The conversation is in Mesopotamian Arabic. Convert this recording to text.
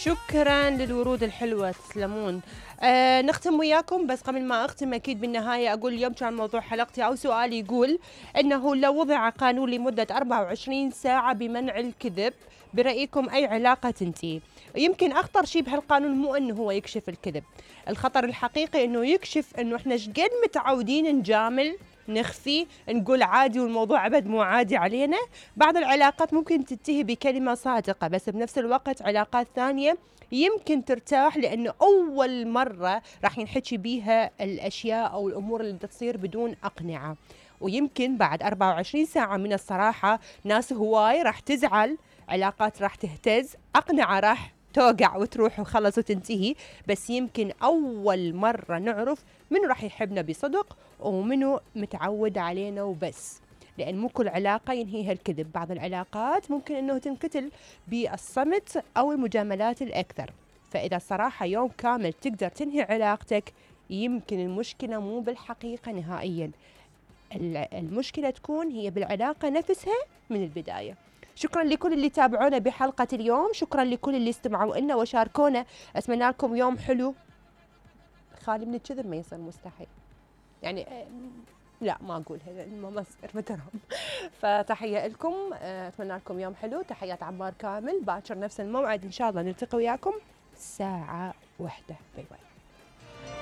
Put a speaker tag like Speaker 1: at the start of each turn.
Speaker 1: شكرا للورود الحلوة، تسلمون. نختم وياكم، بس قبل ما أختم أكيد بالنهاية أقول اليوم كان موضوع حلقتي أو سؤالي يقول إنه لو وضع قانون لمدة 24 ساعة بمنع الكذب، برأيكم أي علاقة تنتهي؟ يمكن أخطر شيء بهالقانون مو إنه هو يكشف الكذب، الخطر الحقيقي إنه يكشف إنه إحنا شقد متعودين نجامل، نخفي، نقول عادي والموضوع أبد مو عادي علينا. بعض العلاقات ممكن تنتهي بكلمة صادقة، بس بنفس الوقت علاقات ثانية يمكن ترتاح لأنه أول مرة راح ينحكي بيها الأشياء أو الأمور اللي تصير بدون أقنعة. ويمكن بعد 24 ساعة من الصراحة ناس هواي راح تزعل، علاقات راح تهتز، أقنعة راح توقع وتروح وخلص وتنتهي. بس يمكن أول مرة نعرف منو راح يحبنا بصدق ومنو متعود علينا وبس، لأن مو كل علاقة ينهيها الكذب. بعض العلاقات ممكن أنه تنقتل بالصمت أو المجاملات الأكثر. فإذا الصراحة يوم كامل تقدر تنهي علاقتك، يمكن المشكلة مو بالحقيقة نهائيا، المشكلة تكون هي بالعلاقة نفسها من البداية. شكرا لكل اللي تابعونا بحلقة اليوم، شكرا لكل اللي استمعوا لنا وشاركونا. أتمنى لكم يوم حلو خالي من الكذب، ما يصير مستحيل يعني، لا ما أقولها ما يصير مترهم. فتحية لكم، أتمنى لكم يوم حلو. تحيات عمار كامل، باكر نفس الموعد إن شاء الله نلتقي وياكم 1:01. باي باي.